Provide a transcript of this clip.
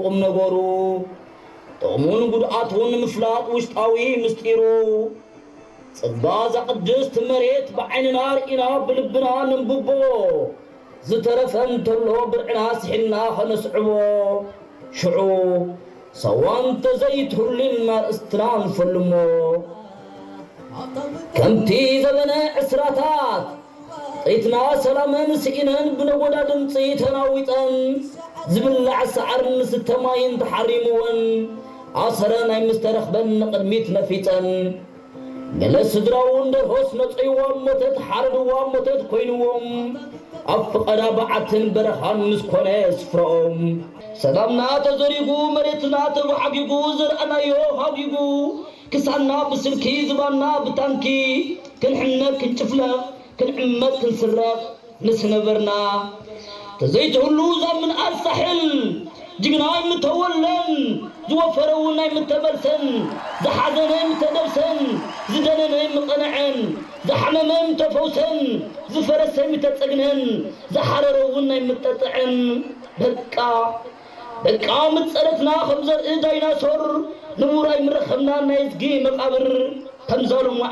ቁም ነገሩ ጥቕሙን ጉድኣቱን ምፍላጥ ውሽጣዊ ምስጢሩ። ጽባ እዛ ቅድስቲ መሬት ብዓይንና ርኢና ብልብና ነንብቦ። ዝተረፈ እንተሎ ብርዕና ስሒልና ኸነስዕቦ። ሽዑ ሳዋ እንተዘይትህሉ ኢልና ርእስትና ንፈልሞ። ከምቲ ዘበነ ዕስራታት ጥይትና ሰላመን ስኢነን ብነጎዳ ድምፂ ተናዊጠን ዝብላዕ ሰዓርን ዝስተ ማይን ተሓሪምወን ኣሰረ ናይ ምስተረኽበን ንቕድሚት ነፊፀን። ገለ ስድራውን ደርሆስ ነፀይዋ ሞተት ሓረድዋ ሞተት ኮይንዎም ኣብ ፍቐዳ በዓትን በረኻን ምስ ኮነ ስፍራኦም። ሰላምና ተዘሪጉ መሬትና ተባዓጊጉ ዘርኣናዮ ሃጊጉ ክሳና ብስልኪ ዝባና ብታንኪ ክንሕነቅ ክንጭፍለቕ ክንዕመት ክንስረቕ ምስ ነበርና ተዘይትህሉ እዛ ምንኣድ ሳሕል ጅግና ኣይምተወለን ዝወፈረ እውን ኣይምተመልሰን ዝሓዘነ ኣይምተደብሰን ዝደነነ ኣይምቐንዐን ዝሓመመ ኣይምተፈውሰን ዝፈረሰ ኣይምተጸግነን ዝሓረረ እውን ኣይምጠጥዐን በቃ በቃ ምጸረትና ከም ዘርኢ ዳይናሶር ንቡር ኣይምረኸብናን ናይ እዝጊ መቓብር ከምዛ ሎማ